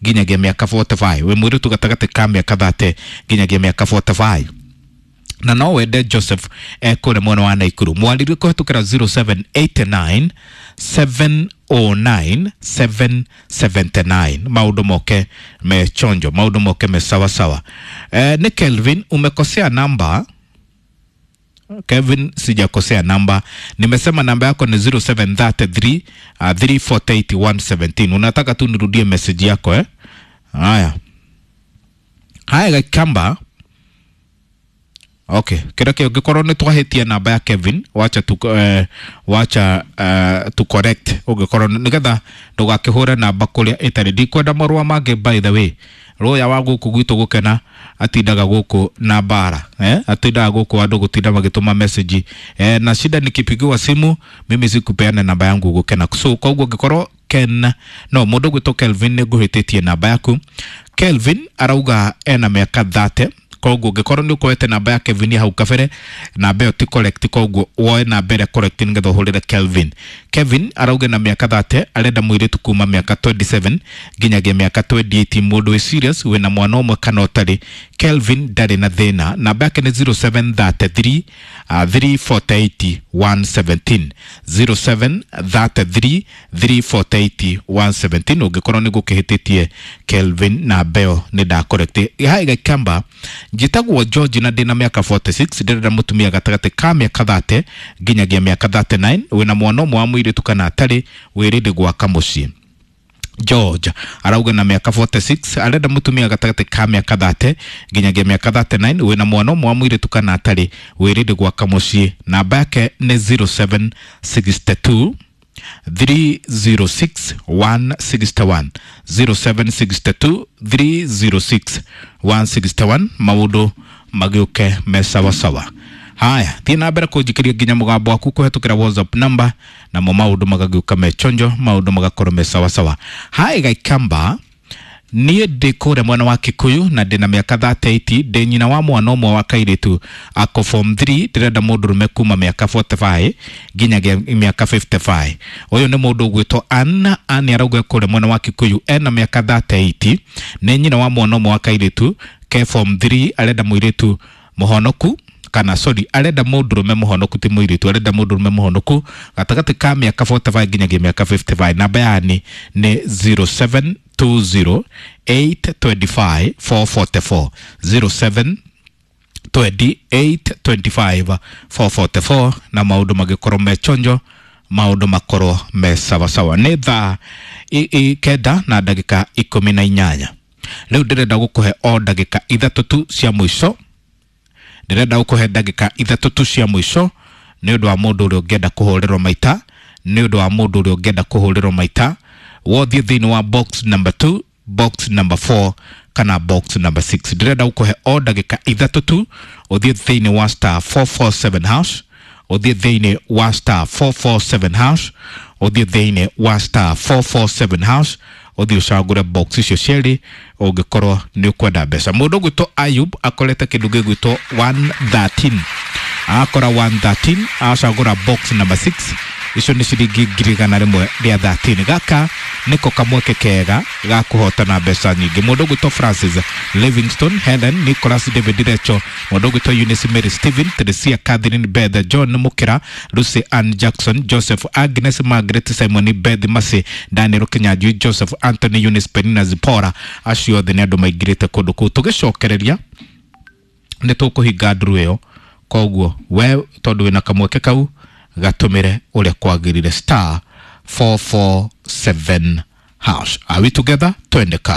nginyagia mĩaka 45, wĩ mũirĩtu gatagatĩ ka mĩaka 30 nginyagia mĩaka 45, na no wende Joseph ekũrĩa mwena wa Naikuru, mwarĩrie kũhetũkĩra 0789 709 779. Maũndũ moke me chonjo, maũndũ moke me sawasawa. Nĩ Kelvin, umekosea namba. Kevin, sijakosea namba, nimesema namba yako ni 0733 348 117. Unataka tu nirudie message yako, eh? Haya haya, Gakamba. Okay, kĩrĩa kĩo ũngĩkorwo nĩ twahĩtia namba ya Kevin, wacha tu, wacha tu correct ũngĩkorwo nĩgetha ndũgakĩhũre namba kũrĩa ĩtarĩ. Ndikwenda marũa mangĩ, by the way. Rũya wa gũkũ gwitũ gũkena atindaga gũkũ na mbara, eh? Atindaga gũkũ andũ gũtinda magĩtũma message, na shida nikipigiwa simu mimi sikupeana namba yangu gũkena. So koguo ũngĩkorwo Ken no mũndũ gwĩtwo Kelvin nĩ ngũhĩtĩtie namba yaku. Kelvin arauga ena mĩaka 30. Koguo ũngĩkorwo nĩ ũkoete namba ya Kevin hau kabere, namba ĩyo ti correct, koguo woe namba ĩrĩa correct nĩgetha ũhũrĩre Kelvin. Kevin arauga na mĩaka 30, arenda mũirĩtu kuma mĩaka 27 nginyagia mĩaka 28, mũndũ wĩ serious, wĩna mwana ũmwe kana ũtarĩ. Kelvin ndarĩ na thĩna. Namba yake nĩ 0733 348 117, 0733 348 117. Ũngĩkorwo nĩ gũkĩhĩtĩtie Kelvin, namba ĩyo nĩ ndacorrect. Hai Gakamba, njĩtagwo George na ndĩna mĩaka 46, ndĩrenda mũtumia gatagatĩ ka mĩaka 30 nginyagia mĩaka 39, wĩna mwana ũmwe wa mũirĩtu kana atarĩ, wĩrĩndĩ gwaka mũciĩ. George arauga na mĩaka 46, arenda mũtumia gatagatĩ ka mĩaka 30 nginyagia mĩaka 39, wĩna mwana ũmwe wa mũirĩtu kana atarĩ, wĩrĩndĩ gwaka mũciĩ. Namba yake nĩ 0762 306 161, 0762 306 161. Maũndũ magĩũke me sawasawa. Haya, thiĩ na mbere kũnjikĩria nginya mũgambo waku kũhetũkĩra WhatsApp number, namo maũndũ magagĩũka me chonjo, maũndũ magakorwo me sawasawa. Hai Gaikamba, niĩ ndĩ kũrĩa mwena wa Kikuyu na ndĩna mĩaka 38, ndĩ nyina wa mwana ũmwe wa kairĩtu ako form 3, ndĩrenda mũndũrũme kuma mĩaka 45 nginyagia mĩaka 55. Ũyũ nĩ mũndũ ũgwĩtwo Ann. Ann arauga kũrĩa mwena wa Kikuyu, ena mĩaka 38, nĩ nyina wa mwana ũmwe wa kairĩtu ke form 3, arenda mũirĩtu mũhonoku, kana sorry, arenda mũndũrũme mũhonoku, ti mũirĩtu, arenda mũndũrũme mũhonoku gatagatĩ ka mĩaka 45 nginyagia mĩaka 55. Namba yani nĩ 0720 825 444, 07 28 25 444, na maũndũ magĩkorwo me chonjo, maũndũ makorwo me sawasawa. Nĩ thaa 9 na ndagĩka 18. Rĩu ndĩrenda gũkũhe o ndagĩka 3 tu cia mũico, ndĩrenda gũkũhe ndagĩka 3 tu cia mũico nĩ ũndũ wa mũndũ ũrĩa ũngĩenda kũhũrĩrwo maita, nĩ ũndũ wa mũndũ ũrĩa ũngĩenda kũhũrĩrwo maita. Wothiĩ thĩinĩ wa box number 2, box number 4 kana box number 6. Ndĩrenda gũkũhe o ndagĩka 3 tu ũthiĩ thĩinĩ wa star 447 hash, ũthiĩ thĩinĩ wa star 447 hash, ũthiĩ thĩinĩ wa star 447 hash, ũthiĩ ũcagũre box icio cierĩ ũngĩkorwo nĩ ũkwenda mbeca. Mũndũ ũgwĩtwo Ayub akorete kĩndũ gĩgwĩtwo 113, akora 113, acagũra box number 6, icio nĩ ciringi 113,000. Gaka nĩko kamweke kega ga kũhotana mbeca nyingĩ. Mũndũ ũgwĩtwo Francis Livingston, Helen Nicholas, David Recho, mũndũ ũgwĩtwo Eunice Mary, Stephen Teresia, Catherine Beth, John Mukira, Lucy Ann Jackson, Joseph, Agnes Margaret, Simon Beth, Masi Daniel Kinyanjui, Joseph Anthony, Eunice Penina, Zipora, acio othe nĩ andũ maingĩrĩte kũndũ kũu. Tũgĩcokereria nĩ tũkũhinga nduru ĩyo, koguo we tondũ wĩna kamweke kau gatũmĩre ũrĩa kwagĩrĩire, star 447 hash. Are we together? Twende kazi.